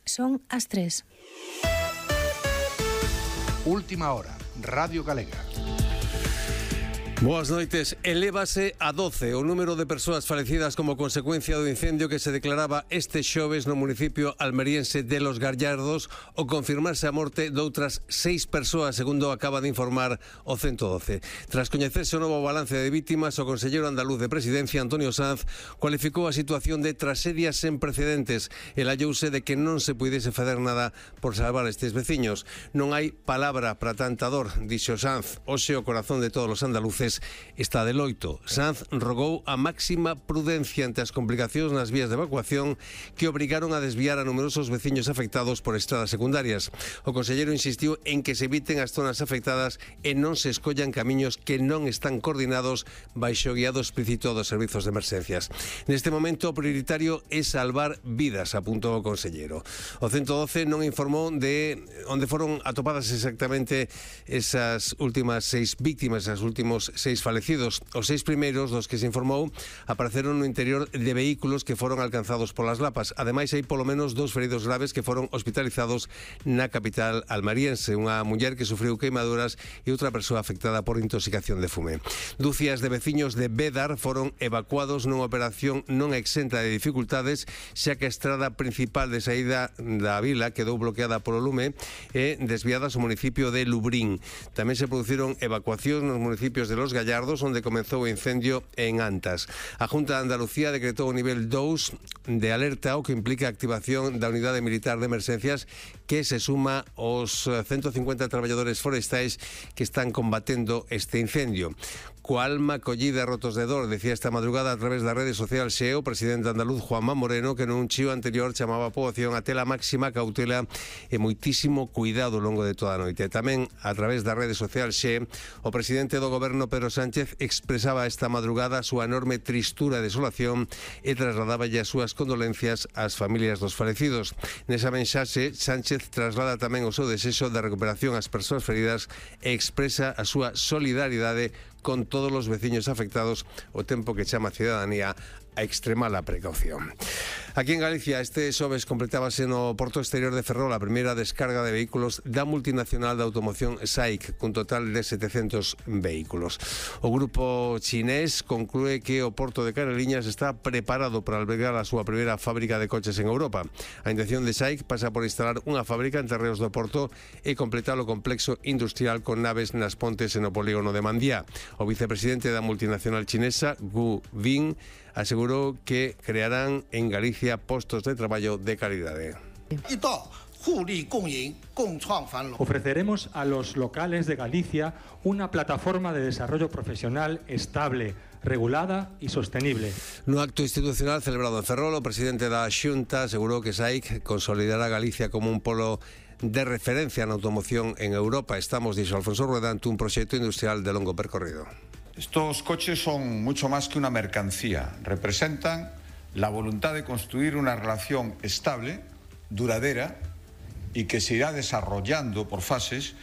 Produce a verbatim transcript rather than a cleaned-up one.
Son as tres. Última hora, Radio Galega. Boas noites. Elévase a doce o número de persoas falecidas como consecuencia do incendio que se declaraba este xoves no municipio almeriense de Los Gallardos, o confirmarse a morte doutras seis persoas, segundo acaba de informar o ciento doce. Tras coñecerse o novo balance de vítimas, o conselleiro andaluz de Presidencia, Antonio Sanz, cualificou a situación de traxedia sen precedentes e lallouse de que non se puidese facer nada por salvar estes veciños. Non hai palabra para tanta dor, dixo Sanz. Hoxe o corazón de todos os andaluces está de loito. Sanz rogou a máxima prudencia ante as complicacións nas vías de evacuación que obrigaron a desviar a numerosos veciños afectados por estradas secundarias. O conselleiro insistiu en que se eviten as zonas afectadas e non se escollan camiños que non están coordinados baixo o guiado explícito dos servizos de emerxencias. Neste momento o prioritario é salvar vidas, apuntou o conselleiro. O ciento doce non informou de onde foron atopadas exactamente esas últimas seis víctimas, esas últimos seis falecidos. Os seis primeiros dos que se informou apareceron no interior de vehículos que foron alcanzados polas lapas. Ademais, hai polo menos dous feridos graves que foron hospitalizados na capital almariense, unha muller que sufriu queimaduras e outra persoa afectada por intoxicación de fume. Dúcias de veciños de Bédar foron evacuados nunha operación non exenta de dificultades, xa que a estrada principal de saída da vila quedou bloqueada polo lume e desviadas ao municipio de Lubrín. Tamén se produciron evacuacións nos municipios de Los Gallardos, onde comezou o incendio en Antas. A Junta de Andalucía decretou o nivel dous de alerta, o que implica a activación da unidade militar de emerxencias que se suma aos ciento cincuenta traballadores forestais que están combatendo este incendio. Coa alma collida e rotos de dor, decía esta madrugada a través da rede social Xe o presidente andaluz Juanma Moreno, que nun chío anterior chamaba a poboación a ter a máxima cautela e moitísimo cuidado ao longo de toda a noite. Tamén a través da rede social Xe, o presidente do goberno Pedro Sánchez expresaba esta madrugada a súa enorme tristura e desolación e trasladaballe as súas condolencias ás familias dos falecidos. Nesa mensaxe, Sánchez traslada tamén o seu desexo de recuperación ás persoas feridas e expresa a súa solidaridade con todos os veciños afectados, o tempo que chama a cidadanía a extremar a precaución. Aquí en Galicia, este xoves completábase no Porto Exterior de Ferrol a primeira descarga de vehículos da multinacional de automoción S A I C, cun total de setecentos vehículos. O grupo chinés conclúe que o Porto de Caneliñas está preparado para albergar a súa primeira fábrica de coches en Europa. A intención de S A I C pasa por instalar unha fábrica en terreos do Porto e completar o complexo industrial con naves nas pontes e no polígono de Mandiá. O vicepresidente da multinacional chinesa, Gu Bin, asegurou que crearán en Galicia postos de traballo de calidade. Ofreceremos a los locales de Galicia una plataforma de desarrollo profesional estable, regulada y sostenible. No acto institucional celebrado en Ferrol, o presidente da Xunta asegurou que S A I C consolidará Galicia como un polo de referencia na automoción en Europa. Estamos, dixo Alfonso Rueda, ante un proxecto industrial de longo percorrido. Estos coches son mucho más que una mercancía, representan la voluntad de construir una relación estable, duradera y que se irá desarrollando por fases